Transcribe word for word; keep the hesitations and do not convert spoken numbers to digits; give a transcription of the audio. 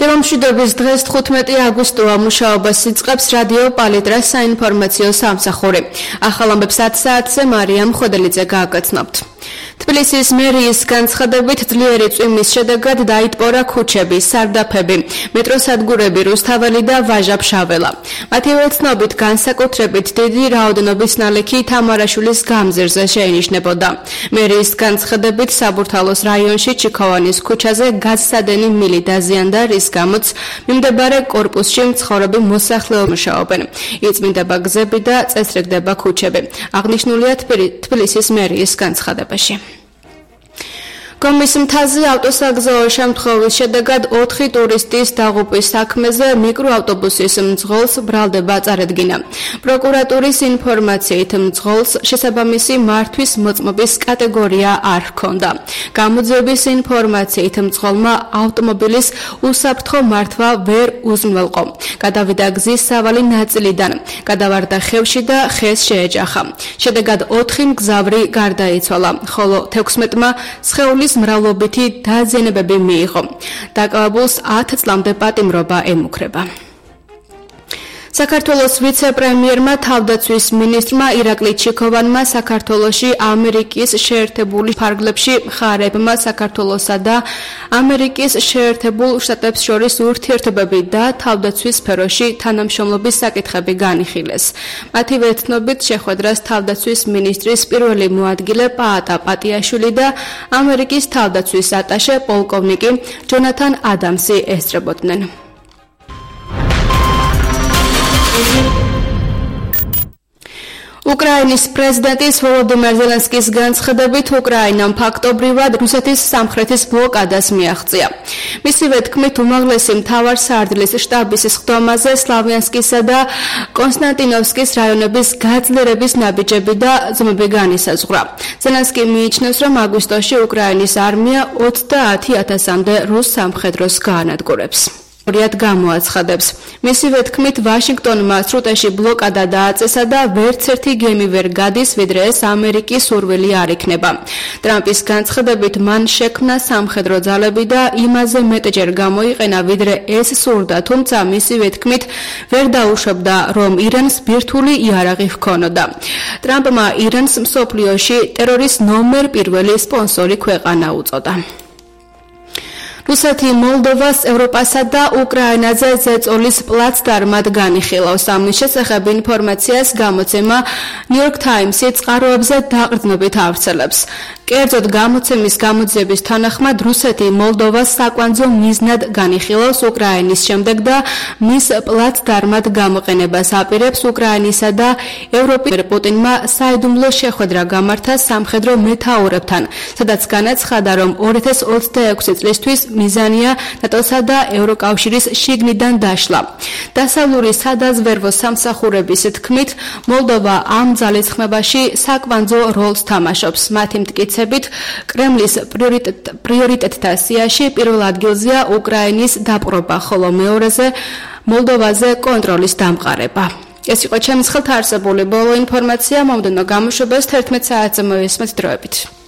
მშვიდობის დღეს თხუთმეტი აგვისტოა მუშაობას იწყებს რადიო პალიტრას საინფორმაციო სამსახური. ახალ ამბებს ათ საათზე მარიამ ხოდელიძე გააგრძნობთ. თბილისის მერიის განცხადებით ძლიერი წვიმის შედეგად დაიტბორა ქუჩები, სარდაფები, მეტროსადგურები რუსთაველი და ვაჟა-ფშაველა. მათივე ცნობით განსაკუთრებით დიდი რაოდენობის ნალექი თამარაშვილის გამზირზე შეინიშნებოდა. მერიის განცხადებით საბურთალოს რაიონში ჩიქოვანის ქუჩაზე გაზსადენი მილი დაზიანდა, რის გამოც მიმდებარე კორპუსში მცხოვრები მოსახლეობა მუშაობენ. იწმინდება გზები და წესრიგდება ქუჩები. აღნიშნულია თბილისის მერიის განცხადებაში. კომის მთაზე ავტოსაგზაო შემთხვევის შედეგად ოთხი ტურისტის დაღუპვის საქმეზე მიკროავტობუსის მძღოლს ბრალდება წარედგინა. პროკურატურის ინფორმაციით მძღოლს შესაბამისი მართვის მოწმობის კატეგორია არ ჰქონდა. გამოძიების ინფორმაციით მძღოლმა ავტომობილის უსაფრთხო მართვა ვერ უზრუნველყო. გადავიდა გზის სავალი ნაწილიდან, გადავარდა ხევში და ხეს შეეჯახა. შედეგად ოთხი მგზავრი გარდაიცვალა, ხოლო თექვსმეტმა სხეულის მრავლობითი დაზიანებები მიიღო. დაკავებულს ათ წლამდე პატიმრობა ემუქრება. საქართველოს ვიცე-პრემიერმა თავდაცვის მინისტრმა ირაკლი ჩიქოვანმა საქართველოში ამერიკის შეერთებული ფარგლებში მხარეებმა საქართველოსა და ამერიკის შეერთებულ შტატებს შორის ურთიერთობები და თავდაცვის სფეროში თანამშრომლობის საკითხები განიხილეს. მათივე ცნობით შეხვედრას თავდაცვის მინისტრის პირველი მოადგილე პაატა პატიაშვილი და ამერიკის თავდაცვის ატაშე პოლკოვნიკი ჯონათან ადამსი ესწრებოდნენ. უკრაინის პრეზიდენტის ვოლოდიმირ ზელენსკის განცხადებით უკრაინამ ფაქტობრივად რუსეთის სამხრეთის ბლოკადას მიაღწია. მისივე თქმით, უმაღლესი მთავარსარდლის შტაბის სხდომაზე სლავიანსკისა და კონსტანტინოვსკის რაიონების გაძლიერების ნაბიჯები და ზომები განისაზღვრა. ზელენსკი მიიჩნევს, რომ აგვისტოში უკრაინის არმია ოცდაათი ათასამდე რუს სამხედროს გაანადგურებს. რიად გამოაცხადებს. მისივე თქმით, ვაშინგტონმა სრუტეში ბლოკადა დააწესა და ვერც ერთი გემი ვერ გადის, ვიდრე ეს ამერიკის სურვილი არ იქნება. ტრამპის განცხადებით, მან შექმნა სამხედრო ძალები და იმაზე მეტჯერ გამოიყენა, ვიდრე ეს სურდა, თუმცა მისივე თქმით, ვერ დაუშვებდა, რომ ირანს ბირთვული იარაღი ჰქონოდა. ტრამპმა ირანს მსოფლიოში ტერორის ნომერ პირველი სპონსორი ქვეყანა უწოდა. რუსეთი მოლდოვას ევროპასა და უკრაინაზე ზეწოლის პლაცდარმად განიხილავს. ამის შესახებ ინფორმაციას გამოცემა New York Times-ი წყაროებზე დაყრდნობით ავრცელებს. კერძოდ გამოცემის გამოძიების თანახმად რუსეთი მოლდოვას საკვანძო მიზნად განიხილავს უკრაინის შემდეგ და მის პლაცდარმად გამოყენებას აპირებს უკრაინისა და ევროპის პუტინმა საიდუმლო შეხვედრა გამართა სამხედრო მეთაურებთან, სადაც განაცხადა, რომ ორი ათას ოცდაექვსი წლისთვის მიზანია ნატოსა და ევროკავშირის შიგნიდან დაშლა. დასავლური სადაზვერვო სამსახურების თქმით, მოლდოვა ამ ძალისხმებაში საკვანძო როლს თამაშობს. მათი მტკიცებით, კრემლის პრიორიტეტთა სიაში პირველ ადგილზეა უკრაინის დაპყრობა, ხოლო მეორეზე მოლდოვაზე კონტროლის დამყარება. ეს იყო ჩემს ხელთ არსებული ბოლო ინფორმაცია. მომდევნო გამოშვებას თერთმეტ საათზე მოვისმენთ დროებით.